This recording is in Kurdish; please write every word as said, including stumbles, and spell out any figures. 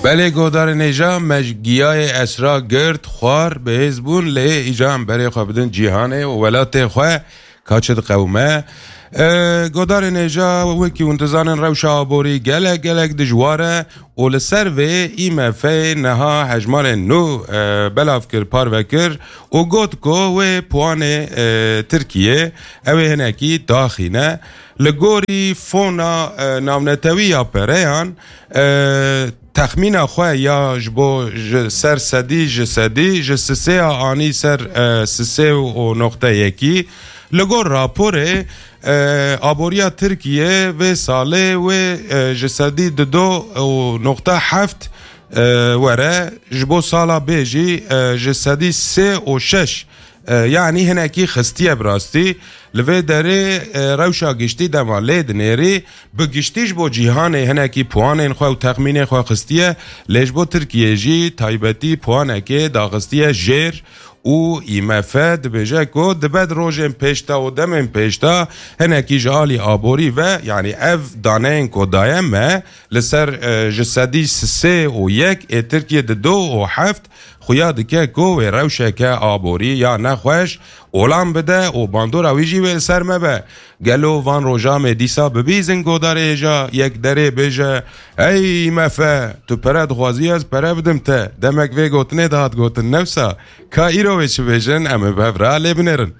Belê godarên hêja, me ji giyayê esra girt, xwar, bihêz bûn, lê îca em berê xwe bidin cîhanê û welatê xwe, ka çi diqewime. E, godarên hêja, wekî hûn dizanin, rewşa aborî gelek, gelek dijwar e û li ser vê I M F niha hejmarên nû, e, belav kir, parve kir û got ku wê puanê, e, Tirkiyê, ew ê hinekî daxîne. Li gorî fona, e, navnetewî ya pereyan, e, texmîna xwe ya ji bo ji ser sedî ji sedî ji sisê a anî ser, e, sisê û noqte yekî. Li gor raporê, e, aboriya Tirkiye vê salê wê, e, ji sedî dido û noqte heft, e, were, ji bo sala bê jî, e, ji sedî sê û şeş, e, yanî hinekî xistiye bi rastî. Li vê derê, e, rewşa giştî dema lê dinêrî, bi giştî ji bo cîhanê hinekî puanên xwe û texmînên xwe xistiye, lê ji bo Tirkiyê jî taybetî puanekê daxistiye jêr û I M F dibêje ku dibe di rojên pêşta û demên pêşta hinekî ji alî aborî ve, yanî ev daneyên ku daye me li ser, e, ji sedî sê û yek ê Tirkiye di do û heft xuya dike ku wê rewşeke aborî ya nexweş olan bide û bandora wî jî wê li ser me be. Gelo van roja me dîsa bibîzin godarê hêja yek derê bêje, "Ey I M F, tu pere dixwazî, ez pere bidim te." Demek vê gotinê dihat gotin, newsa. Ka îro wê çi bêjin, em ê bi hev re lê binêrin.